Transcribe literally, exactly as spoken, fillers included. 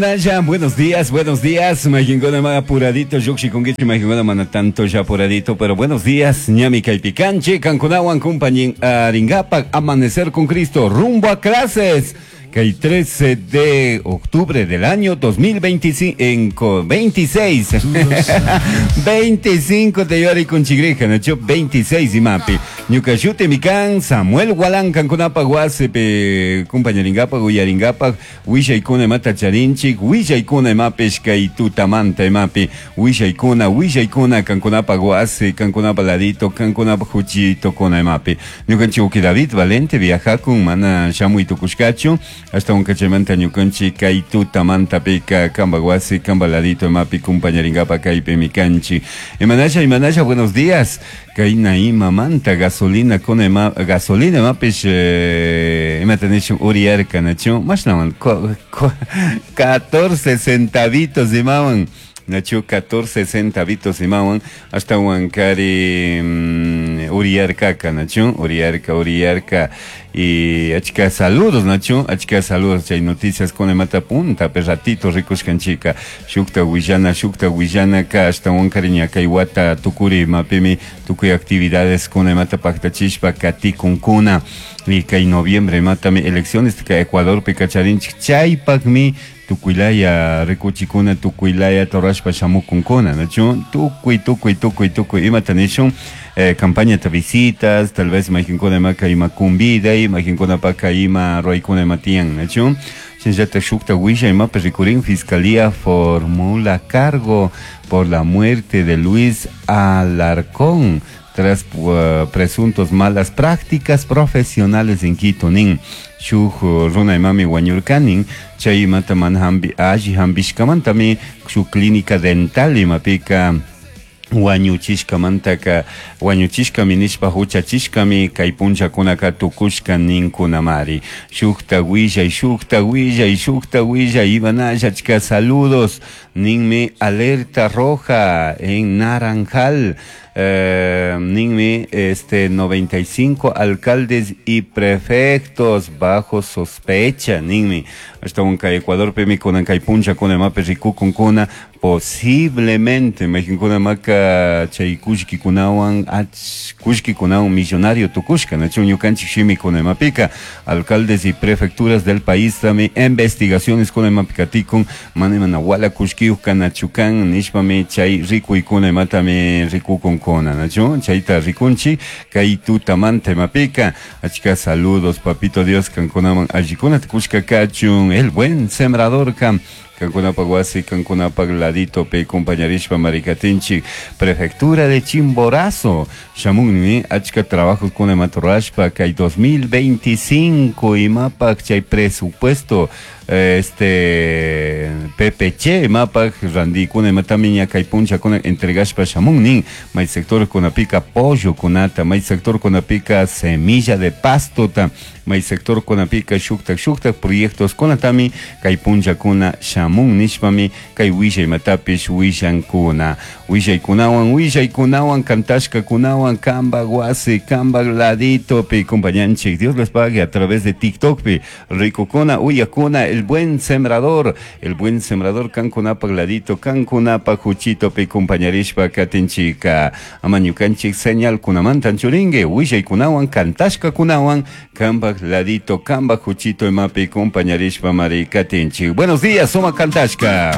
Ya, buenos días, buenos días. Majinkuna ma apuradito, llukshikunkichik, majinkuna mana tanto ya apuradito, pero buenos días, ñami kaypi kanchik, kankunawan kumpañaringapak, Amanecer con Cristo, rumbo a clases. Que el trece de octubre del año dos mil veinticinco, veintiséis, veinticinco de yori con chigrija, nacho veintiséis imapi. Ñuka shutimi kan Samuel Gualán, kankunapa wasipi kumpañaringapa, uyaringapa, willaykuna imata charinchik, willaykuna imapish kay tutamanta imapi, willaykuna, willaykuna kankunapa wasi, kankunapa ladito, kankunapa huchito kuna imapi. Ñukanchik David Valente viajakun, mana shamuy tukushkachu, hasta un kachaymanta ñukanchik kay tutamantapika kamba wasi, kamba ladito imapi kumpañaringapa kaypimi kanchik. Imanasha, imanasha, buenos días. Kayna imamanta gasolina con ima, gasolina imapish eh, imata nishun uriyarka, nachu mashnawan catorce centavitos imawan, nachu catorce centavitos imawan hasta wankari mm, uriyarkaka, nachu uriyarka, uriyarka. Y achka saludos, nachu achka saludos. Chay noticias con imata punta pe ratito rikushkanchika. Shukta willana, shukta willana ka hasta wankari ña kay wata tukuri imapimi tukuy actividades con imata paktachishpa katikunkuna y kay noviembre imatami elecciones ka Ecuadorpi kacharinchik, chaypakmi tukuylaya rikuchikuna, tukuylaya torashpa shamukunkuna, nachu tukuy, tukuy, tukuy, tukuy imata nishun eh, campaña de visitas, tal vez mayqinkuna imaka ima kumbida, mayqinkunapaka ima ruwaykuna ima tiyan, nachu. Shinallata shukta willa imapi rikurin: Fiscalía formula cargo por la muerte de Luis Alarcón tras uh, presuntos malas prácticas profesionales en Quito nin. Shuk runa imami wañurkanin, chay imata mana hambi alli hambishkamantami shuk clínica dental imapika wañuchishkamantaka wañuchishkami nishpa huchachishkami kay punllakunaka tukushka ninkunamari. Shukta willay, shukta willay, shukta willay, imanalla, achka saludos ninmi. Alerta roja en Naranjal eh, ninmi, este noventa y cinco alcaldes y prefectos bajo sospecha ninmi. Ashtawanka Ecuadorpimi kunan kay punllakuna imapi rikukunkuna posiblemente mayqinkunamaka chay kullkikunawan ach kullkikunawan millonario tukushka, nachu ñukanchik shimikuna imapika. Alcaldes y prefecturas del país tami investigaciones kuna imapi katikun, mana imana wala kullkiyuq kanachu kan nishpami chay rikuykuna imatami rikukunkuna, nachu chayta rikunchik kay tutamanta imapika. Achka saludos, papito Dios kankunaman allikunata kushka kachun. El buen sembrador kam kankunapak wasi, kankunapak ladito pe kumpañarishpa marikatinchik. Prefectura de Chimborazo shamunmi achka trabajos kuna imata rurashpa kay dos mil veinticinco imapak chay presupuesto este P P C imapak randikuna imatami ña kay punllakuna entregashpa shamun nin. May sector kunapika pollo kunata, may sector kunapika semilla de pastota, may sector kunapika shuktak shuktak proyectos kunatami kay punllakuna shamun nishpami kay willay imatapish willankuna. Willaykunawan, willaykunawan, kantashkakunawan kambak wasi, kambak laditopi kumpañanchik. Dios les pague. A través de TikTok pi rikukuna, uyakuna. El buen sembrador, el buen sembrador kankunapak ladito, kankunapak huchitopi kumpañarishpa katinchika. Ama ñukanchik señal kunamantan churingue willaykunawan, kantashkakunawan kambak ladito, kambak huchito imapi kumpañarishpa mari katinchik. Buenos días, suma kantashka.